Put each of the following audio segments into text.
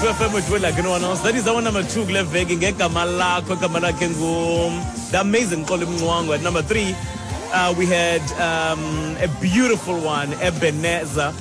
True FM with Will like no one else. That is our number 2 kule veki ngegama lakho, igama lakhe ngu the amazing Xoli Mncwango. At number 3, we had a beautiful one, Ebenezer.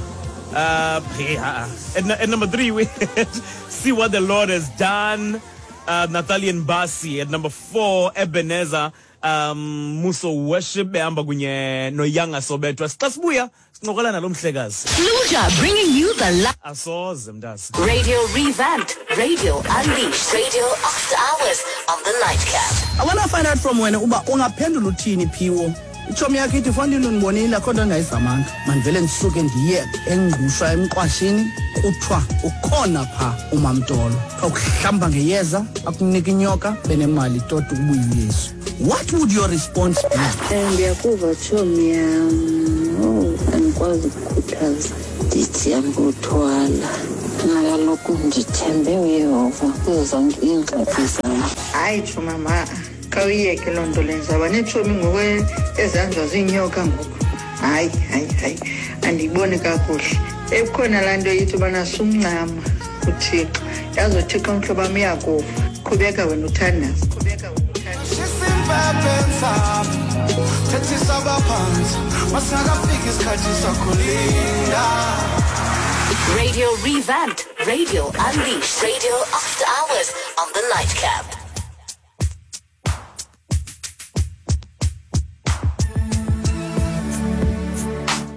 Yeah. At number 3, we had See What the Lord Has Done, Natalia Mbasi. At number 4, Ebenezer, Muso Worship, behamba kunye noYanga Sobetwa. Xa sibuya, sincokola nalo mhlekazi. Luja bringing you the Asoze mntase. Radio revamped, Radio unleashed, Radio after hours on the Nightcap. I want to find out from wena uba ungaphendula uthini Phiwo. Itshomi yakho ithi fondini undibonile akho nto ndingayizamanga. Mandivele ndisuke ndiye engqushwa emqwashini kuthiwa ukhona pha uMamtolo. Kuthiwa ukuhlamba ngeyeza akunika inyoka benemali toti ukubuya uYesu. What would your response be? Ndiyakuva tshomi yam. Oh, andikwazi ukukhuthaza. Ndithi andikuthwala. Mna kaloku ndithembe uYehova kuzo zonke iingxaki zam. Hayi tsho mama, khawuyiyeke loo nto leyo. Ndizawuba neetshomi ngoku ezihanjwa ziinyoka ngoku. Hayi, hayi, hayi, andiyiboni kakuhle. Ekukhona laa nto ithi ubana sumncama kuThixo. Yazi uThixo mhlobo wam uyakuva. Qhubeka wena uthandaze. Qhubeka wena uthandaze. Radio revamped, Radio unleashed, Radio after hours on the Nightcap.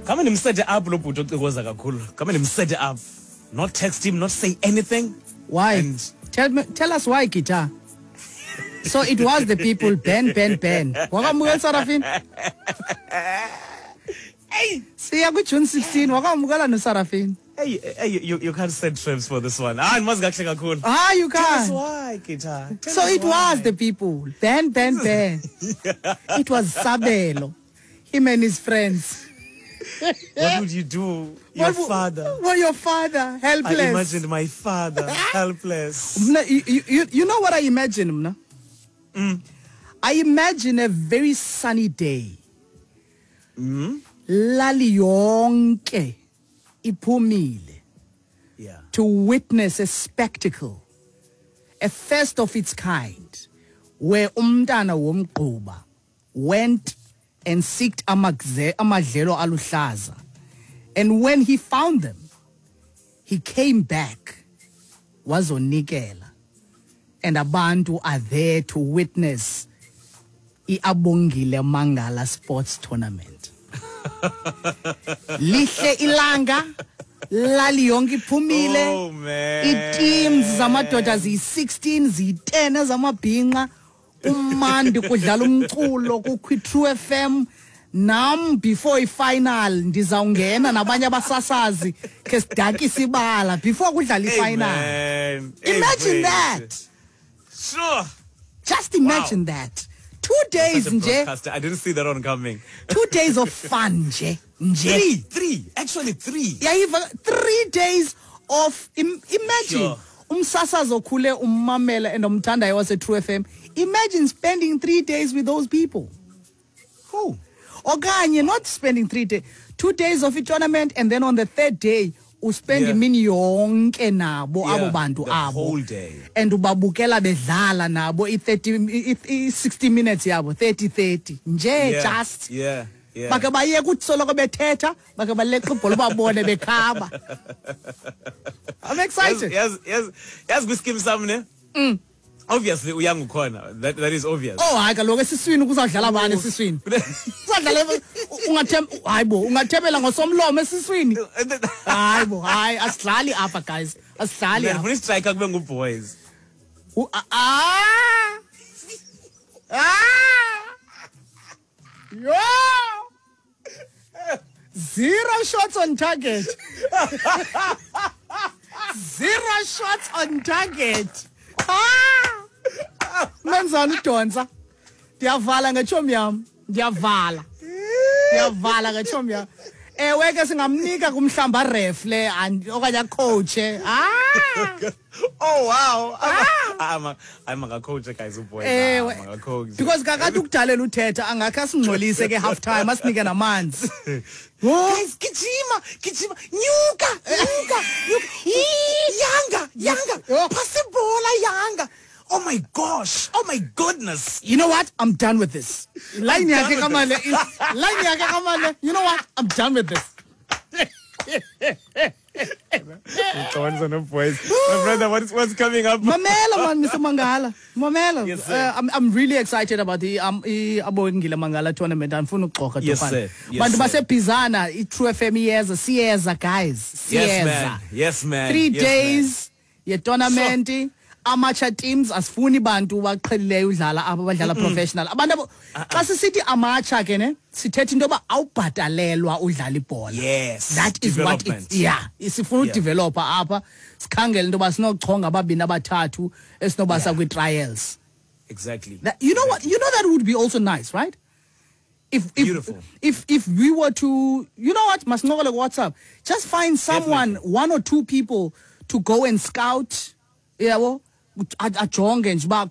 Come and set up lo bhuti ocikoza kakhulu. Come and set up. Not text him, not say anything. Why? And Tell us why, Guitar. So it was the people, Ben, Ben, Ben. Wakamukela Sarafin? Hey! Siya ku-June 16, wakamukela noSarafin. Hey, hey, you can't set traps for this one. Ah, ndimazi kakuhle kakhulu. You Tell us can't. why, Guitar. Tell So us it was why. the people. Ben, Ben, Ben. It was Sabelo. Him and his friends. What would you do? Your father. Well, your father, helpless. I imagined my father, helpless. Mna, you know what I imagine, mna? I imagine a very sunny day. Lali yonke iphumile. To witness a spectacle, a first of its kind, where umntana womgquba went and seeked amadlelo aluhlaza. And when he found them, he came back, wazonikela. And abantu are there to witness iAbongile Mangala Sports Tournament. Lihle ilanga, lali yonke iphumile. Oh, man. Ii-teams zamadoda ziyi-16, ziyi-10 ezamabhinqa. Umandi kudlala umculo kukho i-True FM. Nam before i-final ndizawungena nabanye abasasazi ke sidakise ibala before kudlala Hey, i-final. man. Hey, Imagine wait. that. Sure. Just imagine that. 2 days Such a nje. broadcaster. I didn't see that one coming. 2 days of fun nje. Nje. Three, three. Actually three. Yeah, even 3 days of imagine. Sure. Umsasazi okhule ummamela and umthandayo wase True FM. Imagine spending 3 days with those people. Who? Okanye not spending 3 days, 2 days of a tournament, and then on the third day uspend Yeah. imini yonke nabo Yeah, abo bantu the abo. whole day. And ubabukela bedlala nabo i-60 minutes yabo, 30-30. Nje Yeah, just. Yeah, yeah. Bake bayeke uthi soloko bethetha, bake baleqa ibhola ubabone bekhaba. I'm excited. Yes, yes, yes, kwiskim sam ne? Obviously uyangukhona. That is obvious. Oh, hayi kaloku esiswini kuzawudlala bani esiswini? Kuzawudlala hayi bo, ungathembela ngosomlomo esiswini. Hayi bo, hayi asidlali apha guys. Asidlali Then apha. funa striker kube nguboys. Yo! 0 shots on target. 0 shots on target. Menzani udonsa? Ndiyavala ngetshomi yam. Ndiyavala. Ndiyavala ngetshomi yam. Ewe ke singamnika kumhlamba ref le okanye acoache. Oh wow. I'm a coach guys boys. Ewe. I'm a coach. Because kakade ukudalela uthetha angakhe asingcolise ke half time asinike namanzi. Guys, gijima, gijima, nyuka, nyuka, nyuka. Yanga, Yanga, Yho. phasa ibhola, Yanga. Oh my gosh. Oh my goodness. You know what? I'm done with this. Line done yakhe with kamale line yakhe kamale. You know what? I'm done with this. Boys. My brother, what's coming up? Mamela man, Mr. Mangala. Mamela. Yes, sir. I'm really excited about the Abongile Mangala tournament. Andifuna ukuxoxa Yes, Tofana. sir. Yes, Bantu sir. baseBhizana, i-True FM iyeza, siyeza guys. Siyeza. Yes, man. Yes, man. 3 Yes, days ye-tournament. Amateur teams, asifuni bantu baqhelileyo udlala apha, abadlala professional. Abantu abo xa sisithi amateur ke ne, sithetha into yoba awubhatalelwa udlala ibhola. Yes. That is what Development. it's, yeah, sifuna udeveloper apha, sikhangele into yoba sinochonga ababini abathathu esinobasa kwi-trials. Exactly. That, you know what? You know that would be also nice, right? If Beautiful. If we were to, you know what, masincokole WhatsApp, just find someone, Definitely. one or two people to go and scout, yabo, ajonge nje uba